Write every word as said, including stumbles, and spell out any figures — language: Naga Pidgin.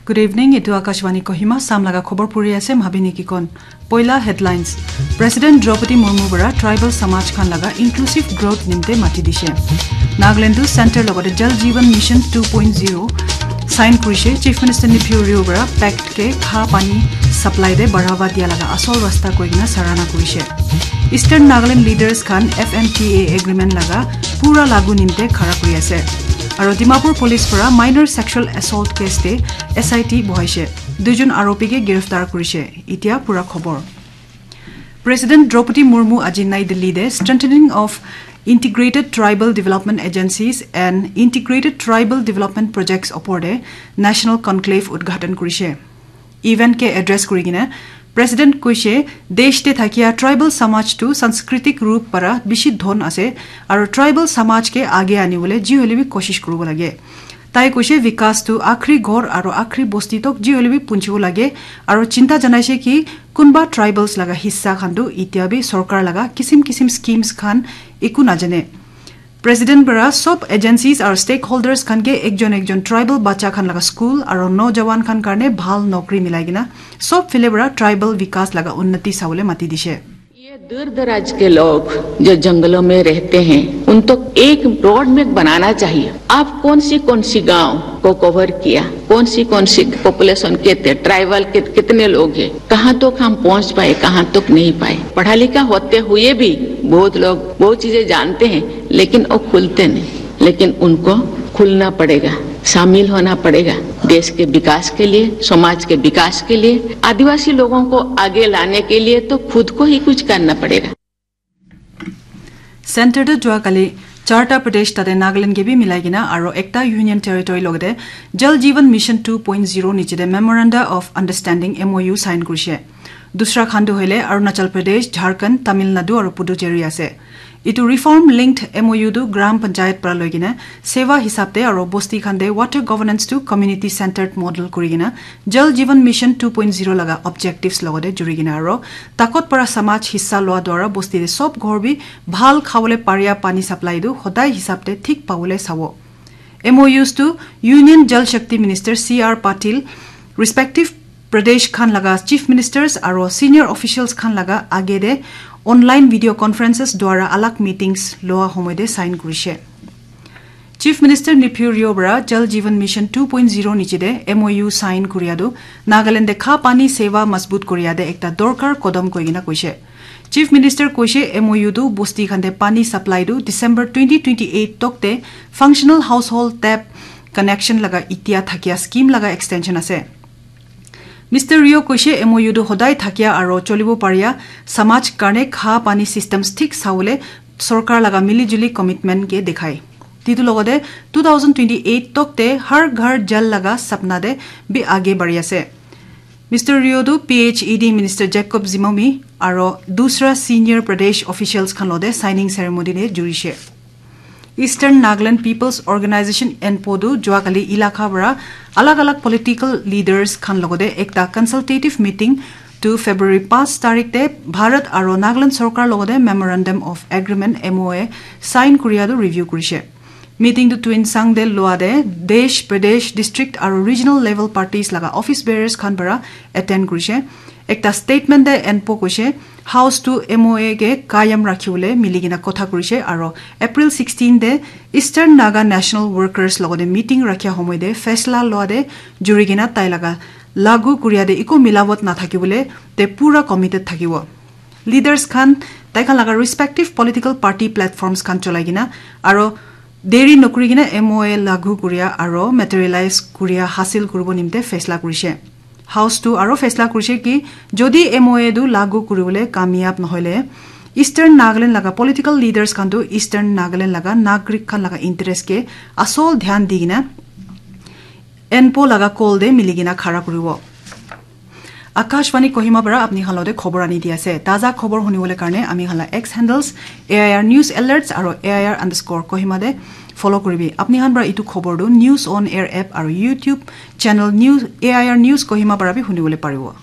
Good evening, etu Akashvani Kohima, Sam laga khobor puri ase, Mhabini Kikon. Poila headlines. President Draupadi Murmu bara tribal samaj khan laga inclusive growth nimte mati dishe. Nagaland tu center logote Jal Jeevan Mission two point zero sign kurishe, Chief Minister Neiphiu Rio bara pact ke kha pani supply de barhawa dia laga asol rasta koi kena sarana kurishe. Eastern Nagaland leaders khan F M T A agreement laga pura lagu nimte khara kuri ase. Aro Dimapur police para minor sexual assault case te S I T bohaishe. Duijon aropi ke giriftar kurishe. Itia pura khobor. President Draupadi Murmu aji Nai Delhi te strengthening of integrated tribal development agencies and integrated tribal development projects opor te national conclave udghatan kurishe. Event ke address kuri kena President koishe, desh te thakia tribal samaj tu sanskritik rup para bishi dhon ase, aro tribal samaj ke age ani bole ji hole bi koshish kuribo lage. Tai koishe, vikas tu akhri ghor aro akhri bosti tok ji hole bi punchibo lage, aro chinta janaishe ki kunba tribals laga hissa khan tu itia bi sorkar laga kisim kisim schemes khan eku najane. President bara sob agencies aru stakeholders khan ke ekjon ekjon tribal bacha khan laga school aru nojawan khan karne bhal nokri milai kena sob phile para tribal vikas laga unnati sabole mati dishe. ये दूर दराज के लोग जो जंगलों में रहते हैं, उन तक एक रोड मैप बनाना चाहिए। आप कौन सी कौन सी गांव को कवर किया, कौन सी कौन सी पॉपुलेशन के थे, ट्राइबल के कितने लोग हैं, कहाँ तक हम पहुँच पाए, कहाँ तक नहीं पाए। पढ़ा लिखा होते हुए भी बहुत लोग बहुत चीजें जानते हैं, लेकिन वो खुलते नहीं। लेकिन उनको खुलना पड़ेगा, शामिल होना पड़ेगा देश के विकास के लिए, समाज के विकास के लिए। आदिवासी लोगों को आगे लाने के लिए तो खुद को ही कुछ करना पड़ेगा। Center tu jua kali charta pradesh tate Nagaland ke bi milai kena aro ekta union territory logate Jal Jeevan Mission two point zero niche te Memoranda of Understanding, M O U, sign kurishe. Dusra khan tu hoile Arunachal Pradesh, Jharkhand, Tamil Nadu aru Puducherry ase. Itu reform linked M O U tu Gram Panchayat para loi kena seva hisab te aru bosti khan te water governance tu community centered model kuri kena Jal Jeevan Mission two point zero laga objectives logate juri kena aru takot para samaj hissa loa dwara bosti te sob ghor bi bhal khabole paria pani supply tu hodai hisab te thik pabole sabo. M O Us tu Union Jal Shakti Minister C R Patil, respective Pradesh khan laga Chief Ministers aro senior officials khan laga age de online video conferences dwara alag meetings loa homoy de sign kurishe. Chief Minister Neiphiu Rio bara Jal Jeevan Mission two point zero niche de M O U sign kuria tu Nagaland de kha pani seva mazbut kuria de ekta dorkar kodom koi kena koishe. Chief Minister koishe M O U tu bosti khan de pani supply tu December twenty twenty-eight tok te functional household tap connection laga itia thakia scheme laga extension ase. Mister Rio koishe M O U tu hodai thakia aro cholibo paria samaj karne kha pani systems thik sawole sorkar laga mili juli commitment ke dekhai. Titu logode two thousand twenty-eight tok te har ghar jal laga sapna de bi age bari ase. Mister Rio tu P H E D Minister Jacob Zimomi aro dusra senior Pradesh officials khan lode signing ceremony de jurishe. Eastern Nagaland People's Organization, ENPO tu juakali ilaka para alag alag political leaders khan logode ekta consultative meeting tu February paanch tarik te Bharat aro Nagaland sorkar logode Memorandum of Agreement, M O A, sign kuria tu review kurishe. Meeting tu Tuensang de loa de desh, pradesh, district aro regional level parties laga office bearers khan para attend kurishe. Ekta statement de ENPO koishe, House tu M O A ke kayam rakhibole mili kena kotha kurishe aro April sixteen de Eastern Naga National Workers logode meeting rakhia homoy de faisla loa de juri kena tai laga lagu kuria de iko milawat nathakibole te pura committed thakibo. Leaders khan tai khan laga respective political party platforms khan cholai kena aro deri nokuri kena M O A lagu kuria aro materialize kuria hasil kuribo nimte faisla kurishe. House tu aro faisla kurishe ki jodi M O A tu lagu kuribole kamyab nohoile Eastern Nagaland laga political leaders khan tu Eastern Nagaland laga nagrik khan laga interest ke asol dhyan di kena ENPO laga call de mili kena khara kuribo. Akashvani Kohima para apni khan lode khobor ani di ase. Taza khobor hunibole karne ami khan la X handles A I R News Alerts aro A I R underscore Kohima de follow kuribi. Apni khan para itu khobor tu News on Air app aro YouTube channel News, A I R News Kohima para bi hunibole paribo.